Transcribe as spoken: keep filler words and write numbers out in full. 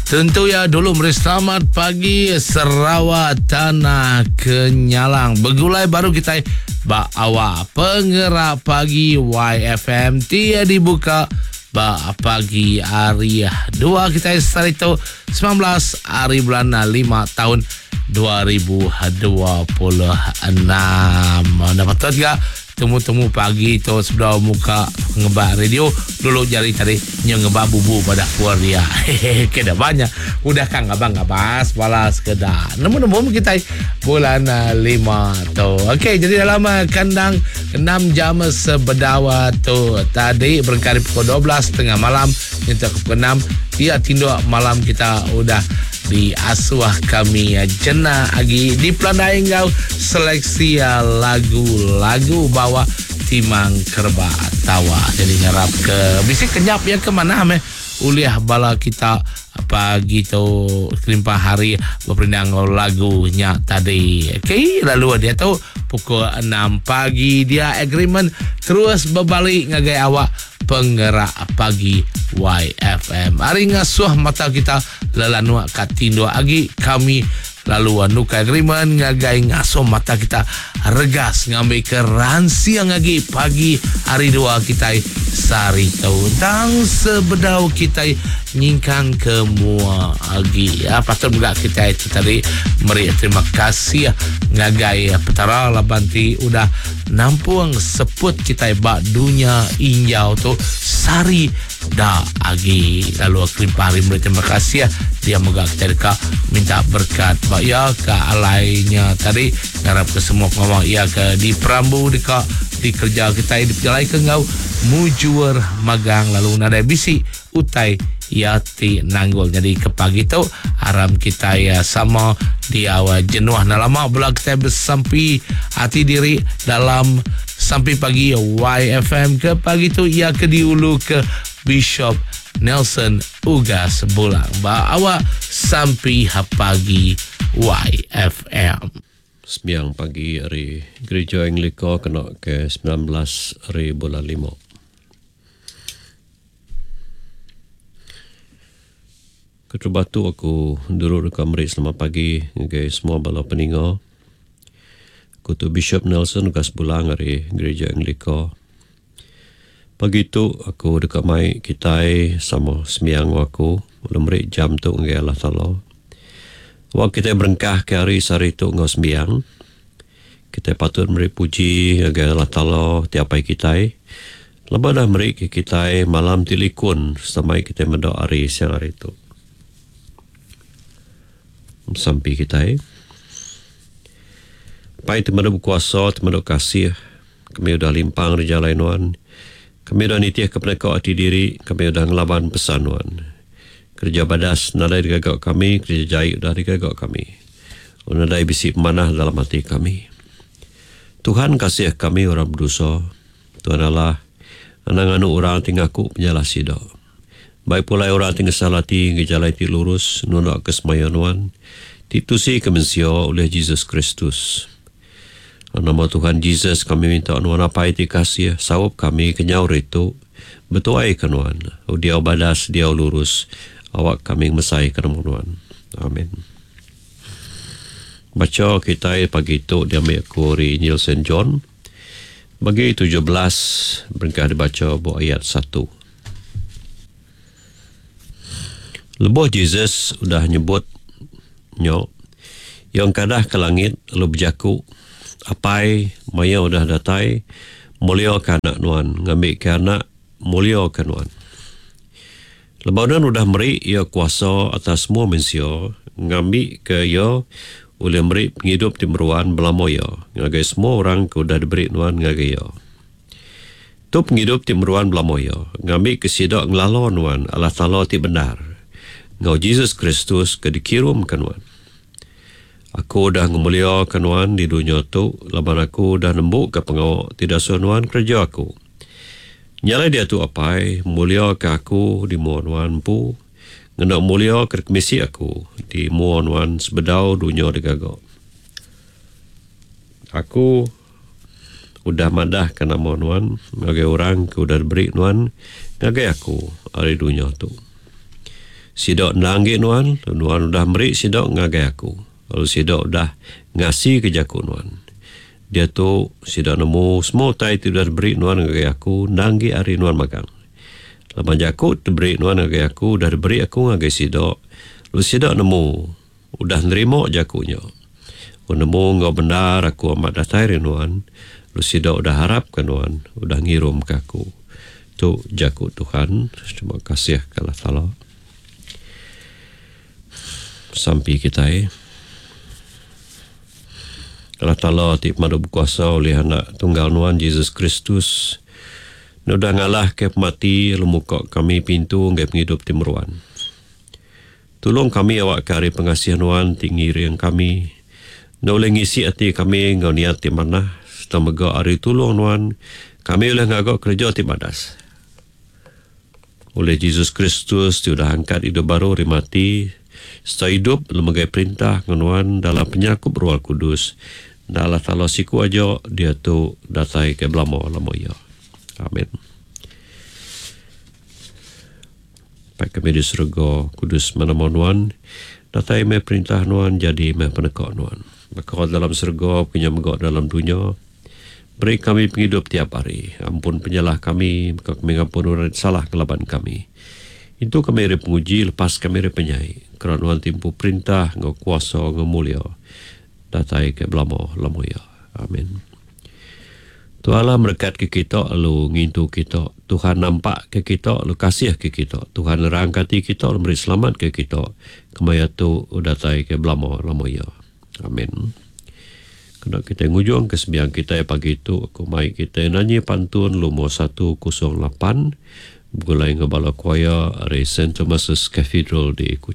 Tentu ya dulu meri selamat pagi Sarawak Tanah Kenyalang. Begulai baru kita ba awak Pengerak Pagi Y F M ti dibuka ba pagi hari dua kita hari itu sembilan belas hari bulan lima tahun dua ribu dua puluh enam. Dapat juga temu-temu pagi tu sebelum muka ngebak radio dulu jari tadi ngebak bubu pada puar dia. Hehehe, kena banyak. Udah kan ngabang ngabas balas kedah. Nemu-nemu kita bulan lima tu. Okey, jadi dalam kandang enam jam sebedawa tu tadi berkari pukul dua belas tengah malam hingga pukul enam dia tinduk malam kita udah diasuh kami jenak agi di pelandai ngau seleksi lagu-lagu bawa timang kerba tawa. Jadi ngarap ke bisik kenyap ya ke mana meh uliah bala kita pagi tu kelimpah hari berperindang lagunya tadi. Okey, lalu dia tu pukul enam pagi dia agreement terus berbalik ngagai awak Pengerak Pagi Y F M. Hari ngasuh mata kita lelanua kat tinduk agi kami lalu nuka agreement ngagai ngasuh mata kita regas ngambil ke ransiang agi pagi hari dua kita sari tau tang sebedau kita nyingkang ke mua agi ya patut juga kita itu tadi meri terima kasih ngagai petara laban ti udah nampung seput kita ba dunia injau tu sari da agi lalu kelimpah hari meri terima kasih dia moga kita dekat minta berkat ba ya ke alainya tadi ngarap ke semua pengawal ya ke di perambu dekat di kerja kita di pejalai ke ngau mujur magang lalu nadai bisi utai ya ti nanggul. Jadi ke pagi tu aram kita ya sama di awal jenuh na lama bela kita bersampi hati diri dalam sampai pagi Y F M ke pagi tu ia ke diulu ke Bishop Nelson Ugas Bulang. Ba awak sampai pagi Y F M. Sembiang pagi hari Gereja Anglika kena ke sembilan belas hari bulan lima. Ketua batu aku dulu dekat meri selamat pagi ngagai semua bala peninga. Aku tu Bishop Nelson Ugas Bulang hari Gereja Anglika. Pagi tu aku dekat mai kitai sama sembiang aku lalu meri jam tu ngagai Allah Taala. Waktu kita berengkah ke hari sehari tu ngau sembiang, kita patut meri puji ngagai Allah Taala tiap hari kitai. Lepas dah meri ke kitai malam tilikun sampai kita mendoa hari siang hari tu. Sampai kitai. Pai teman berkuasa, teman kasih, kami udah limpang di jalan nuan. Kami udah nitih ke peneka hati diri, kami udah ngelaban pesan nuan. Kerja badas nadai digagak kami, kerja jahit udah digagak kami. Nadai bisi pemanah dalam hati kami. Tuhan kasih kami orang berdosa. Tuhan Allah, anang anu orang tinggal aku penyalah sida. Baik pula orang tinggal salah hati, ngejalai ti lurus, nundak ke semaya nuan. Titusi ke mensia oleh Jesus Kristus. Nama Tuhan Jesus kami minta nuan apai ti kasih, sawap kami kenyau ritu, betuai ke nuan. Dia badas, dia lurus. Awak kami mesai ke nama nuan. Amin. Baca kita pagi tu diambil aku dari Injil Saint John. Bagi tujuh belas berengkah dibaca buat ayat satu. Lebuh Jesus udah nyebut nyok yang kadah ke langit lalu berjaku apai maya udah datai mulia ke anak nuan ngambil ke anak mulia ke nuan. Lebanon udah meri ia kuasa atas semua manusia ngambil ke ia oleh meri penghidup ti meruan belama ia ngagai semua orang ke udah diberi nuan ngagai ia. Tu penghidup ti meruan belama ia ngambil ke sidak ngelala nuan Allah Taala ti benar ngau Jesus Kristus ke dikirum ke nuan. Aku dah ngemulia ke nuan di dunia tu laban aku dah nembuk ke pengawak tidak suruh nuan kerja aku. Nyalai dia tu apai mulia ke aku di mua nuan empu ngena mulia ke kemisi aku di mua nuan sebedau dunia digagak. Aku udah madah ke nama nuan ngagai orang ke udah diberi nuan ngagai aku hari dunia tu. Sida endang enggi nuan, lalu nuan udah meri sida ngagai aku, lalu sida udah ngasika jaku nuan. Diatu, sida nemu semua utai ti udah diberi nuan ngagai aku endang enggi ari nuan magang. Laban jaku ti diberi nuan ngagai aku udah diberi aku ngagai sida, lalu sida nemu udah nerima jaku nya. Aku nemu enggau bendar aku amat datai ari nuan, lalu sida udah arapka nuan udah ngirumka aku. Tu jaku Tuhan. Terima kasih ke Allah Taala. Sampi kitai. Allah Taala ti pemadu bekuasa ulih anak tunggal nuan Jesus Kristus udah ngalahka pemati lalu muka kami pintu ngagai pengidup ti meruan. Tulung kami awakka ari pengasih nuan ti ngiring kami enda ulih ngisi ati kami enggau niat ti manah sereta mega ari tulung nuan kami ulih ngaga kereja ti badas. Ulih Jesus Kristus ti udah angkat idup baru ari mati sereta idup lalu megai perintah enggau nuan dalam penyerakup Roh Kudus enda Allah Taala siku aja diatu datai ke belama-lama iya. Amin. Apai kami di serega, kudus meh nama nuan, datai meh perintah nuan, jadi meh peneka nuan. Baka dalam serega, baka nya mega dalam dunya. Beri kami pengidup tiap hari. Ampun penyalah kami, baka kami ngampun orang ti salah ngelaban kami. Intu kami ari penguji, lepas kami ari penyai. Kera nuan ti empu perintah enggau kuasa enggau mulia datai ke belama-lama iya. Amin. Tuhan Allah merekat ke kita lalu ngintu kita. Tuhan nampak ke kita lalu kasih ke kita. Tuhan nerangka ati kita lalu meri selamat ke kita. Kemaya tu datai ke belama-lama iya. Amin. Kena kita ngujung ke sembiang kita pagi tu aku mai kita nanyi pantun lumur satu kosong lapan begulai enggau bala choir ari Saint Thomas's Cathedral di Kuching.